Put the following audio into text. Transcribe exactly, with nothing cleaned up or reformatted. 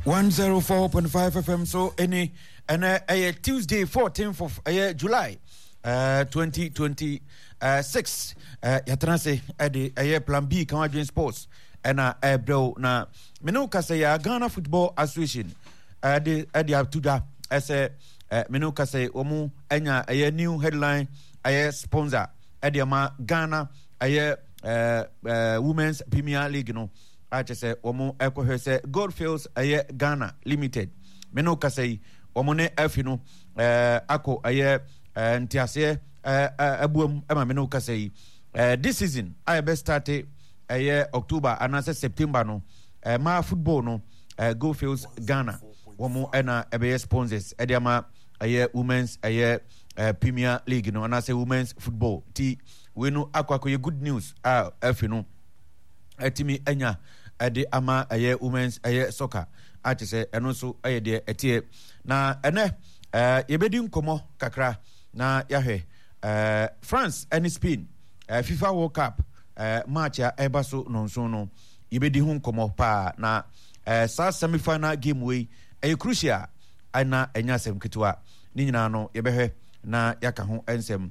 One zero four point five FM so ɛni ɛnɛ ɛyɛ Tuesday fourteenth of ɛyɛ July uh, twenty twenty six uh, yɛatena ase ɛde ɛyɛ Plan B kan adwene sports ɛna ɛbrɛw na mene wo kasa yɛ Ghana Football Association ɛde ɛde ato dwa ɛsɛ mene wo kasa wɔn anya ɛyɛ new headline ɛyɛ sponsor ɛde ama Ghana ɛyɛ ɛɛ ɛɛ Women's Premier League no a kyerɛ sɛ wɔn ɛkɔhwɛ sɛ Goldfields ɛyɛ Ghana Limited me ne kasa yi wɔn ne afi no ɛɛ akɔ ɛyɛ ɛɛ nteaseɛ ɛɛ ɛbuam ɛma me ne kasa yi ɛɛ this season a yɛbɛ start ɛyɛ October anaasɛ September no ɛɛ maa football no ɛɛ Goldfields Ghana wɔn ɛna ɛbɛyɛ sponsors ɛde ama ɛyɛ women's ɛyɛ ɛɛ Premier League no anaasɛ women's football ti wei no akɔ akɔyɛ good news a afi no atumi anya ɛde ama ɛyɛ women's ɛyɛ soccer a kyerɛ sɛ ɛno nso ɛyɛ deɛ ɛteɛ na ɛnɛ ɛɛ yɛbɛdi nkɔmɔ kakra na yɛahwɛ ɛɛ France ɛne Spain ɛɛ FIFA World Cup ɛɛ match a ɛba so nonson no yɛbɛdi ho nkɔmɔ paa na ɛɛ saa semi final game wei ɛyɛ crucial ɛna ɛnyɛ asɛm ketewa ne nyinaa no yɛbɛhwɛ na yɛaka ho nsɛm